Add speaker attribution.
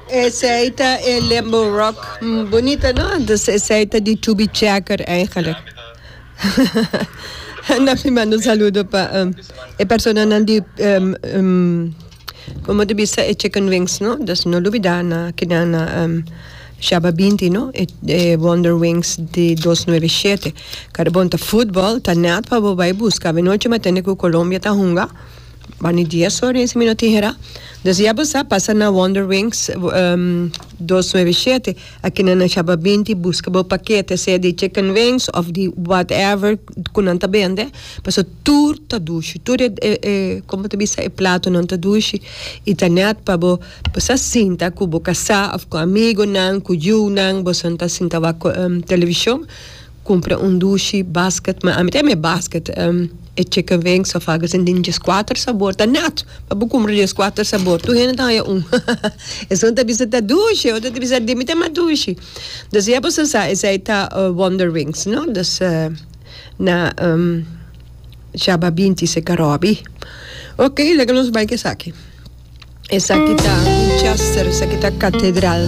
Speaker 1: Esei ta e Limbo Rock bunita no? Dus esei ta di Chubby Checker eigenlijk. Na mi manda un saludo pa e personanan di como ta bisa e chicken wings no? Dus no lubida na kinan na Shaba binti no? E Wonder Wings di dos nuebe shete. Karbon ta futbol ta net pa bo bai buska. Avenochi mi a tende ku Colombia ta hunga. Bani dies ora si mi no tin hera. Dus ya bo sa pasa na Wonder Wings dos nuebe shete aki nan na Shaba binti buska bo pakete sea di chicken wings of di whatever ku nan ta bende paso tur ta dushi tur e e komo ta bisa e platonan ta dushi i ta nèt pa bo bo sa sinta ku bo kasá of ku amigonan ku yunan boso ta sinta wak televishon. Cumpra un dushi basket, ma ami ta yama e basket, e chicken wings of algo asin den dieskuater sabor, ta nat pa bo cumpra dieskuater sabor, tur hende ta haya un, esun ta bisa ta dushi, otro ta bisa di mi ta mas dushi, dus ya boso sa esei ta Wonder Wings no, dus na Shaba binti se Karobi, ok laga nos bai ku esaki, esaki ta Winchester, esaki ta Catedral.